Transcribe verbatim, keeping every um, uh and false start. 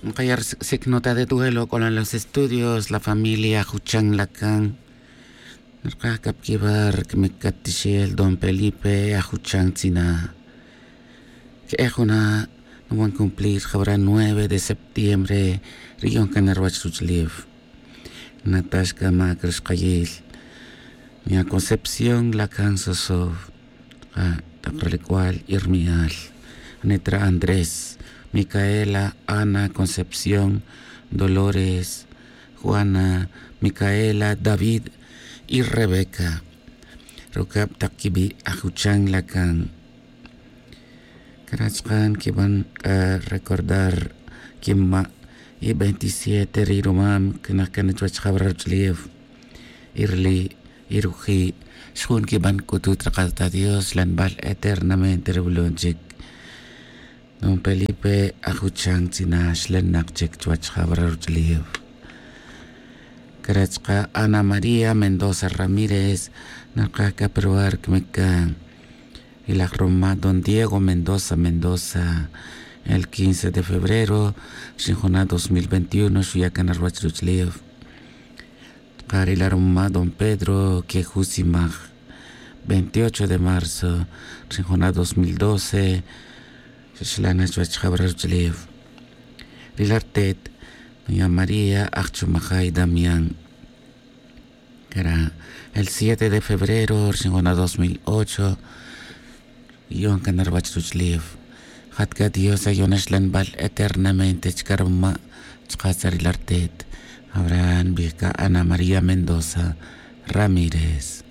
Nkaya' rsik' nota de duelo k'olan los estudios la familia ajuchan lakan. Rkaj k'ap kibar kmik katixel don felipe ajuchan tzina. Ke'e juna' nuwan cumplir jawra nueve de septiembre. Ri yon kan rwach ruch'lif natax k'amak rixqayil. Nya concepción lakan sosow. Taq rilik'wal irmi'al, nitra andrés, micaela, ana, concepción, dolores, juana, micaela, david, y rebeca. Rukab taq kibi' ajuchan lakan. Kara' chqan kiban k'a recordar kinma'. Y veintisiete ri rumam kinaj kan chuwach jawra ruch'lef. Y rili' y ruji' xjun kiban k'utut raqal ta dios xlanbal eternamente ruwulon chik. Don felipe ajuchan tzina xlanaq chik chuwach jawra ruch'lef. Kara' chqa' ana maría mendoza ramírez. Narqaj k'a peruwar kmik. Y laj rumama' don diego mendoza mendoza, el quince de febrero, rixin juna' dos mil veintiuno xuya' kan ruwach ruch'lef. Chqa' ri la rumama' don pedro quejusimaj, veintiocho de marzo, rixin juna' dos mil doce. Xaxlana' chuwach jawra ruch'lef. Ri la rtet, doña maría ajchumajay damián. Kara' el siete de febrero rixin juna' dos mil ocho. Yon kan ruwach ruch'lef. Jat k'a dios ayona xlanbal eternamente chka rumama'. Chka tzaril artet. Abraham nbij k'a ana maría mendoza ramírez.